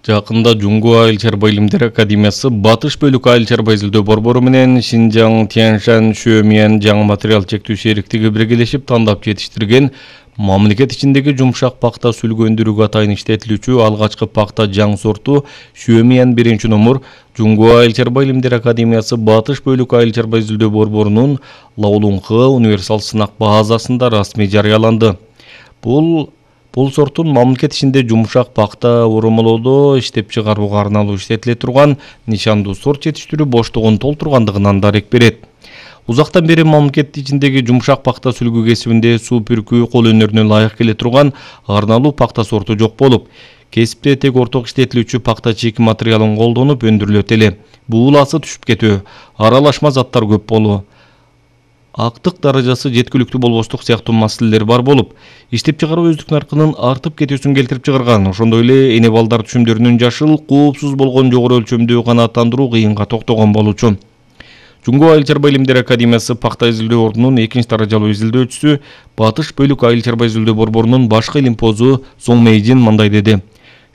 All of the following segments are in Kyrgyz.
Жакында Жунгу Айыл чарба илимдер академиясы Батыш бөлүк айыл чарба изилдөө борбору менен Шинжаң Тяньшань Шөмиян жаңы материал чектүү шериктиги биргелешип тандап жетиштирген мамлекет ичиндеги жумшак пакта сүлгөндүрүүгө атайын иштетилүүчү алгачкы пакта жаң сорту Шөмиян 1-номер Жунгу Айыл чарба илимдер академиясы Батыш бөлүк айыл чарба изилдөө борборунун Лаулункы универсал сынак базасында расмий жарыяланды. Бул сорттун мамлекет ичинде жумшак пакта урумулоодо иштеп чыгарууга арналуу иштетиле турган нишандуу сорт жетиштирүү боштугун толтургандыгынан дарек берет. Узактан бери мамлекет ичиндеги жумшак пакта сүлгү кесибинде суу пүркүү кол өнөрүнө ылайык келе турган арналуу пакта сорту жок болуп, кесипте тек орток иштетилүүчү пакта чийки материалын колдонуп өндүрүлөт эле. Бууласы түшүп кетүү, аралашма заттар көп болуу, актык даражасы жеткиликтүү болбоштук сыяктуу маселелер бар болуп, иштеп чыгаруу өздүк наркынын артып кетүүсүн келтирип чыгарган. Ошондой эле эне балдар түшүмдөрүнүн жашыл, коопсуз болгон жогору өлчөмдүү канааттандыруу кыйынга токтогон болчу. Жунгу Айыл чарба илимдер академиясы пакта изилдөө ордунун 2-даражалуу изилдөөчүсү Батыш бөлүк айыл чарба изилдөө борборунун башкы илимпозу Соң Мэйжин мындай деди.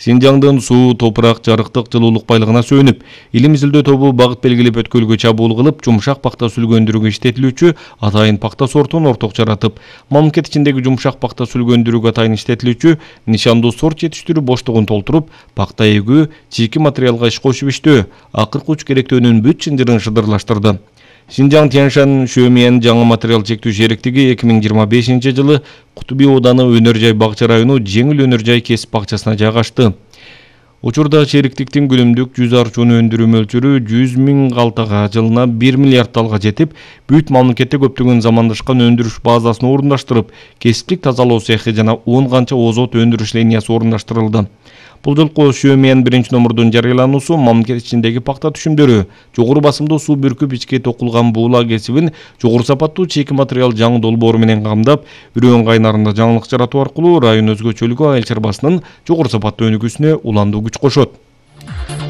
Синжаңдын суу, топурак, жарыктык, жылуулук байлыгына сүйүнүп, илим изилдөө тобу багыт белгилеп өткөлгө чабуул кылып, жумшак пакта сүлгөндүрүүгө иштетилүүчү атайын пакта сортун орток жаратып, мамлекет ичиндеги жумшак пакта сүлгөндүрүүгө атайын иштетилүүчү нишандуу сорт жетиштирүү боштугун толтуруп, пакта эгүү, чийки материалга иш кошуп иштөө, акыркы уч керектөөнүн бүт чынжырын шыдырлаштырды. Шинжаң Тяньшань Шөмиян жаңы материал чектүү шериктиги 2025-жылы Кутуби ооданы Өнөр жай бакча району жеңил өнөр жай кесип бакчасына жайгашты. Учурда шериктиктин күнүмдүк жүз арчууну өндүрүү мөлчөрү 100 000 калтага, жылына 1 миллиард талга жетип, бүт мамлекетте көптөгөн замандашкан өндүрүш базасын орундаштырып, кесиптик тазалоо цехи жана 10 канча озот өндүрүш линиясы орундаштырылды. Бул жолку Шөмиян 1-номердун жарыялануусу мамлекет ичиндеги пакта түшүмдөрү, жогору басымдуу суу бүркүп ичке токулган буула кесибин жогору сапаттуу чийки материал жаңы долбоору менен камдап, үрөөн кайнарында жаңылык жаратуу аркылуу район өзгөчөлүгү айыл чарбасынын жогору сапаттуу өнүгүүсүнө уландуу күч кошот.